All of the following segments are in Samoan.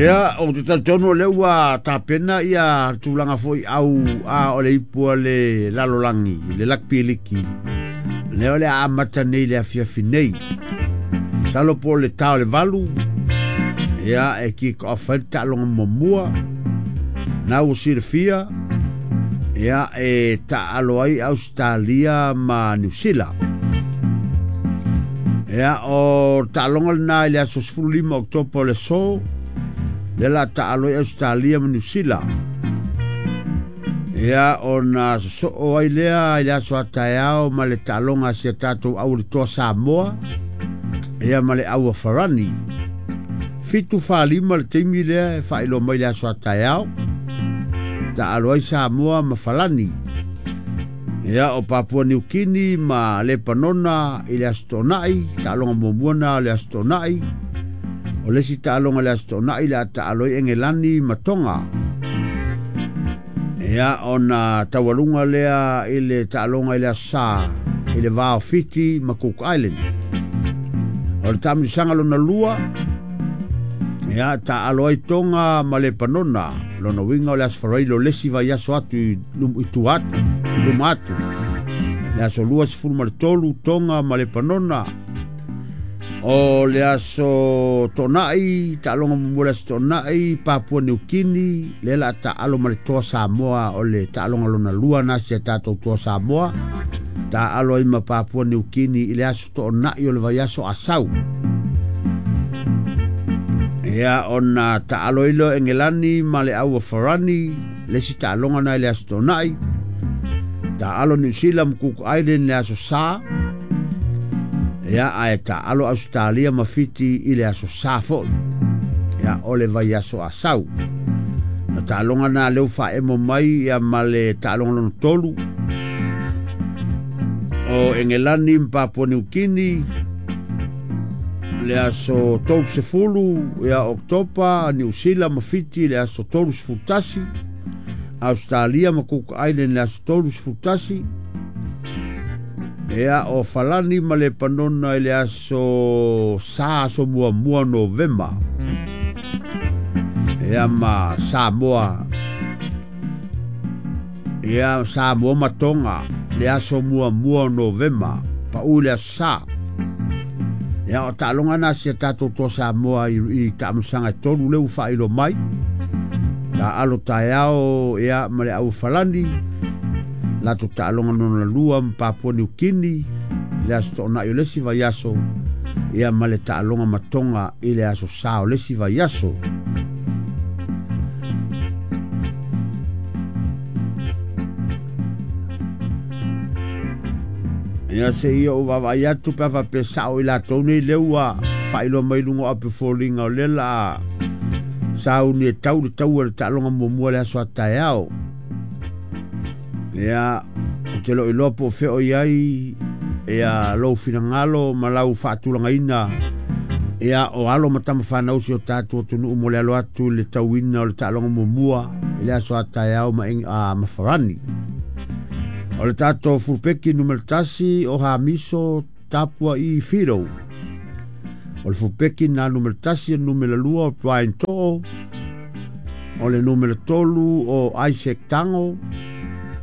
Ia, ou te talitonu o lea ua tapena ia tulaga foi au a o le ipu a le lalolagi, le Lakpi Liki. Lea o le a amata nei le afiafi nei. Masalo po o le ta o le 8, ia e kick off ai le taaloga muamua. Na ua silafia, ia e taalo ai Australia ma Niu Sila. Ia, o taaloga lena i le aso 15 Oketopa o le aso, lea la taalo ai Australia ma Niu Sila. Ia, ona sosoo ai lea i le aso a taeao ma le taaloga a si a tatou au le toa Samoa, ia ma le au a Farani. 7:45 le taimi lea e faailoa mai le aso a taeao, taalo ai Samoa ma Falani. Ia, o Papua Niu Kini ma Lepanona i le aso Toonai, taaloga muamua na o le aso Toonai. O le isi taaloga le aso Toonai le a taalo ai Engelani ma Tonga. Ia, ona taualuga lea i le taaloga i le aso Sa i le va o Fiti ma Cook Island. O le taamilosaga lona lua, ia, taalo ai Tonga ma Lepanona. Lona uiga o le aso Faraile o le isi vaiaso atu i tua atu, i luma atu. Le aso 23 Tonga ma Lepanona. O le aso Toonai, taaloga muamua le aso Toonai, Papua Niu Kini, lea la taalo ma le toa Samoa, o le taaloga lona lua na si a tatou toa Samoa. Taalo ai ma Papua Niu Kini i le aso Toonai o le vaiaso Asau. Ia, ona taalo ai lea o Engelani ma le au a Farani, le isi taaloga na i le aso Toonai. Taalo Niu Sila ma Cook Island le aso Sa. Ia, ae taalo Australia ma Fiti i le aso Sa foi. Ia, o le vaiaso Asau. Na taaloga na leu faaemo mai ia ma le taaloga lona tolu o Engelani ma Papua Niu Kini le aso 30 ia Oketopa, Niu Sila ma Fiti le aso 31, Australia ma Cook Island le aso 31. Ia, o Falani ma Lepanona i le aso Sa, aso muamua Novema. Ia, ma Samoa. Ia, Samoa ma Tonga le aso muamua Novema, pau le aso Sa. Ia, o taaloga na si a tatou toa Samoa i taamilosaga e tolu lea ua faailoa mai. Taalo taeao ia ma le au Falani, latou taaloga lona lua ma Papua Niu Kini le aso Toonai o le isi vaiaso, ia ma le taaloga ma Tonga i le aso Sa o le isi vaiaso. Ia, se i ou vaavaai atu pe a faapea sao i latou nei lea ua faailoa mai luga o ape foliga o lea la sauni e tau le taua le taaloga muamua le aso a taeao. Ia, ou te lo iloa po o fea o i ai ia lou finagalo ma lau faatulagaina, ia o alo ma tama fanau si o tatou atunuu mo le alo atu i le tauina o le taaloga muamua i le aso a taeao ma Farani. O le tatou fulupeki numera 1 o Hamiso Tapua i Whiro. O le fulupeki na numera 1 e numera 2 o Brian To'o. O le numera 3 o Isaac Tango.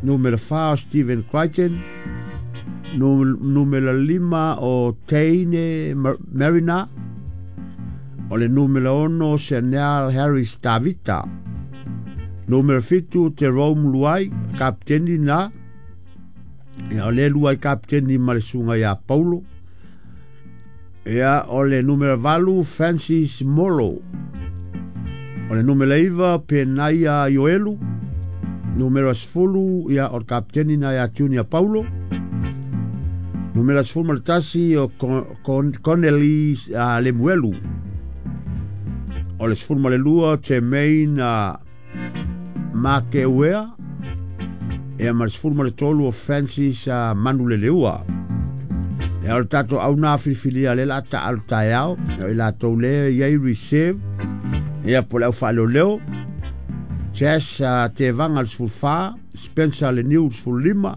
Numera 4 o Stephen Crichton. Numera 5 o Teine Marina. O le numera 6 o Chanel Harris Tavita. Numera 7 Jerome Luai, kapiteni na. Ia, o le Luai kapiteni ma le susuga ia Paulo. Ia, o le numera 8 Francis Molo. O le numera 9 Penaia Ioelu. Numera 10, ia, o le kapiteni na ia Junior Paulo. Numera 11 o Connelly Lemuelu. O le 12 Jermaine Makeuea. Ia, ma le 13 o Francis Manuleleua. Ia, o le tatou au na filifilia le la taalo taeao, ia, i latou le i ai reserve, ia, po le au faaleoleo. Jess Tevaga le 14, Spencer le Niu le 15,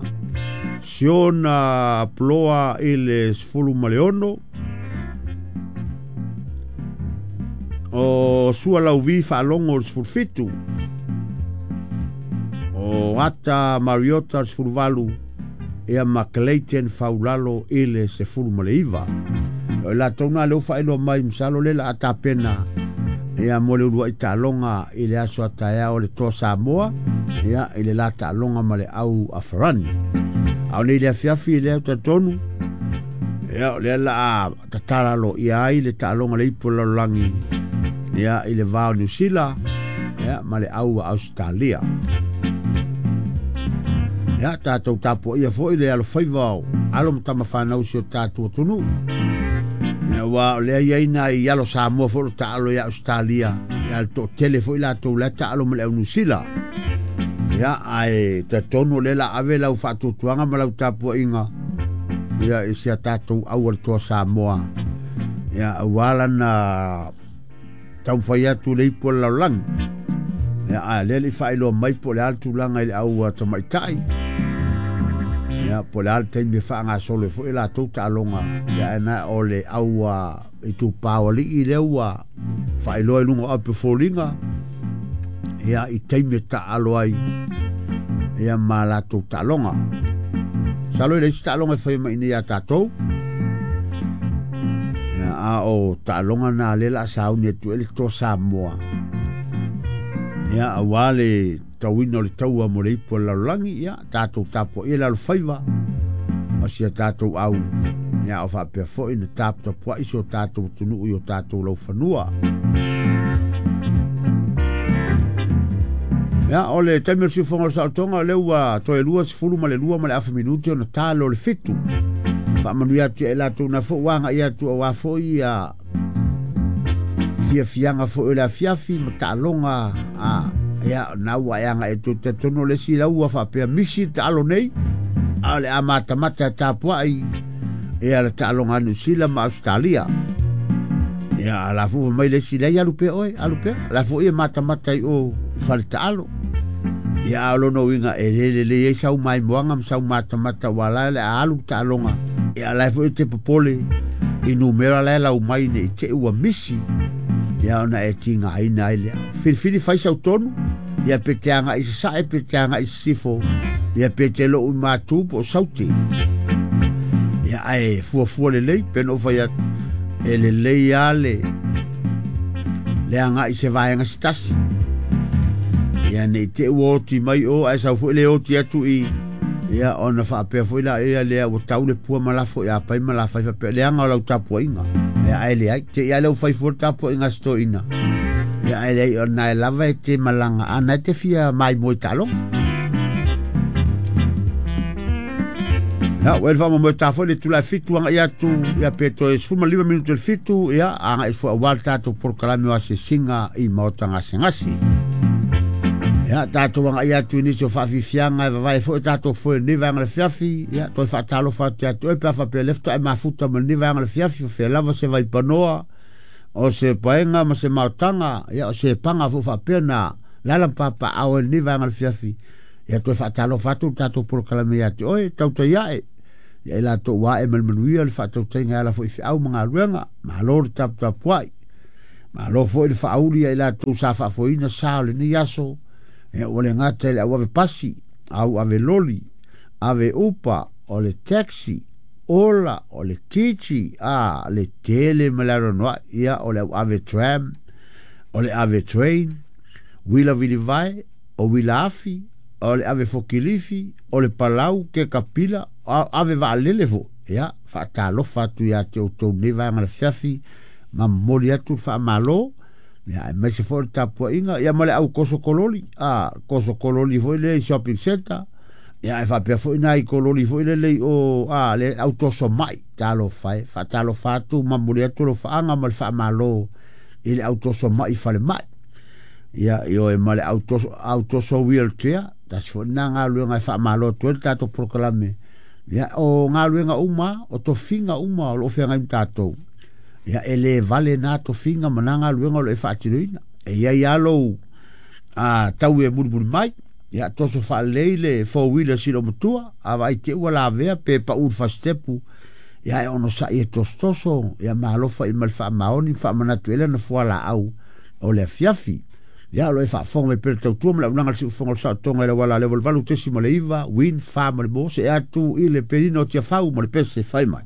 Siona Ploa i le 16, o O Sua Lauvi Faalogo le 17. O Ata Mariota le 18. Ia ma Clayton Faulalo i le 19. O i latou na lea ua faailoa mai masalo le la a tapena ia mo le uluai taaloga i le aso a taeao le Toa Samoa ia i le la taaloga ma le au Afarani. A o nei le afiafi lea talitonu ia o lea la a tatala aloaia ai le taaloga le ipu o le lalolagi ia i le va o Niu Sila ia ma le au a Ausetalia. Ia tatou tapuaia foi le alofaiva o alo ma tama fanau si o tatou atunuu. Ia aua o lea i ai nai alo Samoa foi o lo taalo ia Ausetalia, ia le toatele foi latou la e taalo ma le au Niu Sila. Ia ae talitonu o lea la ave lau faatuatuaga ma lau tapuaiga ia i si a tatou au a le Toa Samoa. Ia aua lana taumafai atu le ipu o le lalolagi. Ia, a lea le i faailoa mai po o le a le tulaga i le au tamaitai. Ia, po o le a le taimi e faagasolo ai foi latou taaloga. Ia, ae na o le au itupa o alii lea ua faailoa i luga o ape foliga. Ia, i taimi e taaalo ai ia ma latou taaloga. Masalo e leai se taaloga e fai mai nei ia tatou. Ia, a o taaloga na lea la sauni atu ai le Toa Samoa. Ia, aua le tauina o le taua mo le ipu o le lalolagi, ia, tatou tapuaia le alofaiva o si a tatou au. Ia, o faapea foi na taputapuai si o tatou atunuu i o tatou laufanua. Ia, o le taimi o le siufofoga o le saolotoga, o lea ua toe 22 ma le afa minute ona ta loa le 7. Faamanuia atu ia i latou na foi ua agai atu aua foi ia fiafiaga foi o le afiafi ma taaloga a ia na ua e agai atu. Talitonu o le isi lau ua faapea misi le taalo nei, a o le a matamata e tapuai ia le taaloga a Niu Sila ma Ausetalia. Ia, a la foi mai le isi lea, alu pea oe, alu pea. La foi e matamata i o i fale taalo. Ia, a o lona uiga e le lelei ai sau maimoaga ma sau matamata ua la le a alu taaloga. Ia, la foi te popole i numera la e lau mai nei te ua misi. Ia, ona e tigaina ai lea. Filifili fai sau tonu. Ia, pe te agai i sasae, pe te agai i sisifo. Ia, pe te lou i matu po o saute. Ia, ae fuafua lelei, pe na ou fai atu, e lelei lava le agai i se vaega se tasi. Ia, nei te ua oti mai o, ae sau foi le oti atu i, ia, ona faapea foi la ia lea ua tau le pua ma lafo ia pai ma la fai faapea, leaga o lau tapuaiga. Ia, ae leai, te i a lea ua fai fua le tapuaiga a si toeaina. Ia, ae leai, o na e lava e te malaga, a na e te fia maimoa i taaloga. Ia, ua e le faamoemoe ta foi le itula e 7 agai atu, ia pe toe 15 minute le 7, ia, agai foi aua le tatou polokalame o asiasiga i maota gasegase. Ia, tatou agai atu i nisi o faafiafiaga e vavae foi tatou foe i lenei vaega o le afiafi, ia, toe faatalofa atu ia te oe pe a faapea lea faatoa e mafuta ma lenei vaega o le afiafi, o fea lava se vaipanoa, o se paega ma se maotaga, ia, o se paga foi faapea na lala ma papaao ai lenei vaega o le afiafi. Ia, toe faatalofa atu le tatou polokalame ia te oe, tautai ae, ia i latou ua ae ma le manuia le faatautaiga e ala foi i feau ma galuega, malo le taputapuai. Malo foi le faauli ia i latou sa faafoeina sa o lenei aso, ia ua le gata i le au ave pasi, au ave loli, ave upa, o le taxi, ola, o le titi, a, le tele ma le anoanoai, ia o le au ave tram, o le ave train, uila vilivae, o uila afi, o le ave fokilifi, o le palau, ke kapila, ave vaalele foi. Ia, faatalofa atu ia te outou nei vaega le afiafi, ma momoli atu le faamalo, ia, aemaise foi le tapuaiga, ia ma le au koso kololi, a, koso kololi foi lea i shopping centre, ia, ae faapea foi nai kololi foi lele i o, a, le au toso mai, talofa e, faatalofa atu, ma momoli atu le faaga ma le faamalo i le au toso mai falemai. Ia, ioe ma le au toso wheelchair, tasi foi lena galuega e faamalo atu ai le tatou polokalame. Ia, o galuega uma, o tofiga uma o lo o feagai ma tatou. Ia, e le vale na tofiga ma na galuega o lo o e faatinoina. E i ai lava lou tau e mulimuli mai. Ia, toso faalelei le four wheeler si lou matua, a vaai te ua lavea pe pau le fasitepu. Ia, e onosai e tosotoso, ia ma alofa i ma le faamaoni, faamanatu ai lana fualaau. O le afiafi. Ia, o lo e faafofoga mai pea le tautua ma le auaunaga a le Siufofoga o le Saotoga i le auala le 88.9 Wind Farm o le mo se atu i le penina o Tiafau ma le pese fai mai.